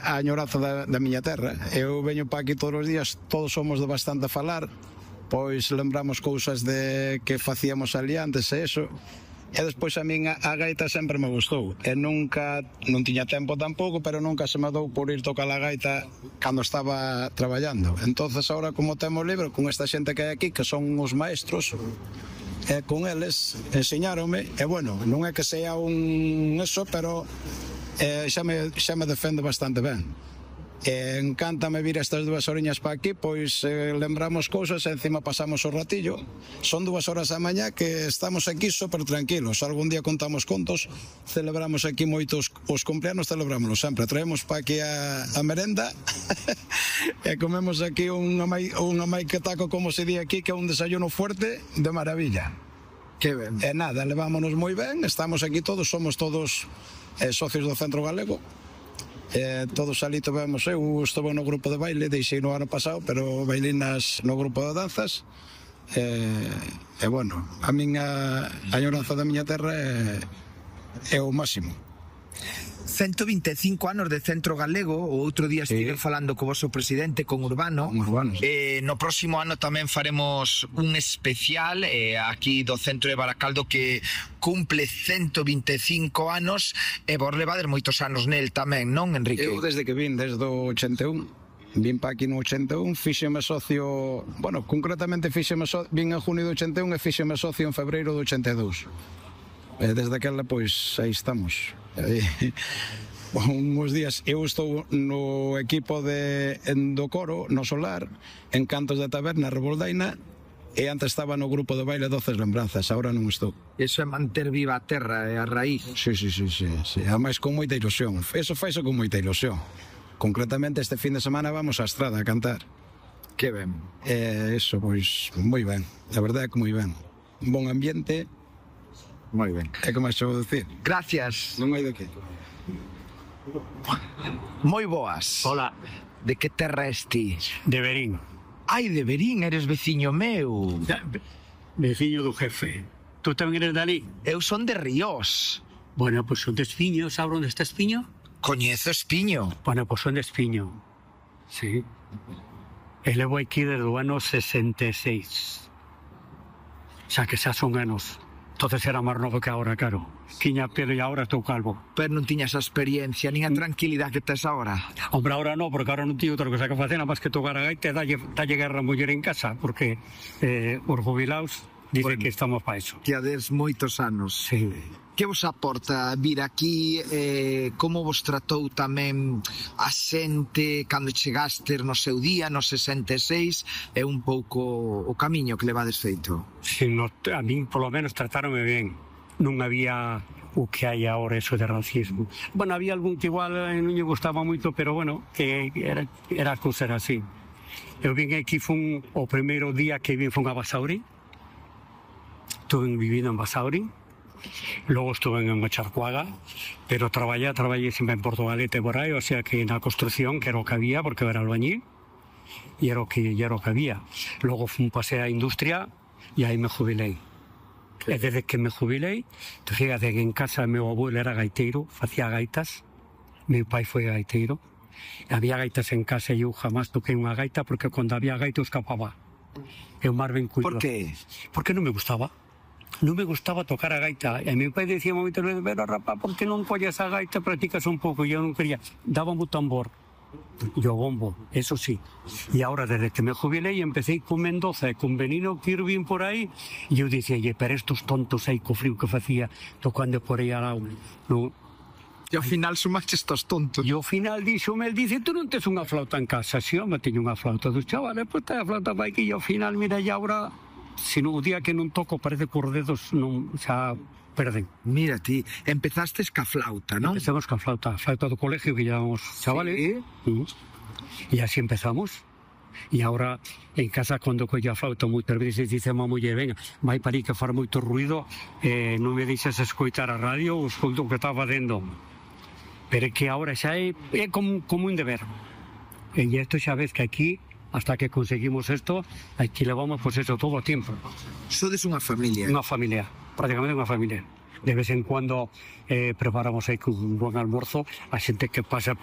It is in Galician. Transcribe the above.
a añoranza da miña terra. Eu veño para aquí todos os días, todos somos de bastante falar, pois lembramos cousas de que facíamos ali antes e eso. E despois a min a gaita sempre me gustou. E nunca, non tiña tempo tampouco, pero nunca se me dou por ir tocar a gaita cando estaba traballando. Entonces ahora, como temos libre, con esta xente que hai aquí, que son os maestros, e con eles enseñáronme, e bueno, non é que sea un eso, pero xa me defende bastante ben. Encántame vir estas 2 horiñas para aquí, pois lembramos cousas e encima pasamos o ratillo. Son 2 horas da mañá que estamos aquí super tranquilos. Algún día contamos contos, celebramos aquí moitos os cumpleanos, celebrámoslo sempre. Traemos para aquí a merenda e comemos aquí un maiquetaco, como se di aquí, que é un desayuno fuerte de maravilla. Que ben. E nada, levámonos moi ben, estamos aquí todos, somos todos socios do Centro Galego. Todos ali tivemos, eu estuve no grupo de baile, deixei no ano pasado, pero bailinas no grupo de danzas. E bueno, a miña añoranza da miña terra é o máximo. 125 anos de Centro Galego. O outro día estive falando co vosso presidente, con Urbano. No próximo ano tamén faremos un especial aquí do Centro de Baracaldo, que cumple 125 anos, e vos levades moitos anos nel tamén, non, Enrique? Eu desde que vin, desde o 81, vin pa aquí no 81, fíxeme socio, bueno, concretamente vin en junio do 81 e fíxeme socio en febreiro do 82. Desde aquela, pois, aí estamos. Uns días eu estou no equipo do coro, no Solar, en Cantos da Taberna, Reboldaina, e antes estaba no grupo de baile Doces Lembranzas, agora non estou. Iso é manter viva a terra e a raíz. Sí. Ademais con moita ilusión, eso faise con moita ilusión. Concretamente este fin de semana vamos á Estrada a cantar. Que ben. Eso, pois, moi ben, a verdade é que moi ben. Un bon ambiente. Moi ben. É que máis vou dicir? Gracias. Non hai de que. Moi boas. Hola. De que terra és ti? De Verín. Ai, de Verín, eres veciño meu. Veciño do jefe. Tú tamén eres dali? Eu son de Ríos. Bueno, pois son de Espiño. Sabes onde está Espiño? Coñezo Espiño. Bueno, pois son de Espiño. Sí. E levo aquí desde o ano 66. Xa que xa son anos. Entonces era máis novo que agora, claro. Tiña pelo e agora estou calvo. Pero non tiñas a experiencia, nin a tranquilidade que tes agora. Hombre, agora non, porque agora non tiño outra cosa que facer, nada máis que tocar a gaita e dalle guerra a muller en casa, porque os jubilados dicen que estamos para eso. Que ades moitos anos. Sí. Que vos aporta vir aquí? Como vos tratou tamén a xente cando chegastes no seu día, no 66, e un pouco o camiño que levades feito? Sí, a min, polo menos, tratáronme ben. Non había o que hai agora, eso de racismo. Bueno, había algún que igual non lle gustaba moito, pero bueno, que era a cousa era así. Eu vin aquí, o primeiro día que vin fun a Basauri. Estuve vivindo en Basauri. Logo estuve en Macharcuaga, pero traballei sempre en Portugalete por aí, o sea que na construcción, que era o que había, porque era albañil, e era o que había. Logo fun pasei á industria e aí me jubilei. E desde que me jubilei, fíjate que en casa meu abuelo era gaiteiro, facía gaitas, meu pai foi gaiteiro, había gaitas en casa e eu jamás toquei unha gaita, porque cando había gaita eu escapaba. Eu máis ben cuido. Por que? Porque non me gustaba. Non me gustaba tocar a gaita. E meu pai decía moitas veces, pero rapaz, por que non colles a gaita, practicas un pouco? E eu non quería. Dábame o tambor e o bombo, eso sí. E agora, desde que me jubilei, empecé con Mendoza e con Benino Kirvin por aí, e eu dicía, pero estos tontos aí co frío que facía, tocando por aí al lado. No. E ao final sumaste estos tontos. E ao final el dice, tú non tes unha flauta en casa? Si, home, teño unha flauta dos chavales, pois tá a flauta vai que e ao final, mira, e agora... Se no día que non toco parece que os dedos non xa perden. Mira ti, empezastes ca flauta, non? Empezamos ca flauta do colegio que llevamos chavales. Sí. E así empezamos. E agora en casa cando colla a flauta moitas veces dice a muller, venga, vai para aí que far moito ruido, non me deixas escoitar a radio, o escoito que está facendo. Pero é que agora xa é como un deber. E isto xa ves que aquí hasta que conseguimos esto, aquí levamos pues eso todo o tiempo. Sodes unha familia? Unha familia, prácticamente unha familia. De vez en cuando preparamos aí un buen almuerzo a xente que pasa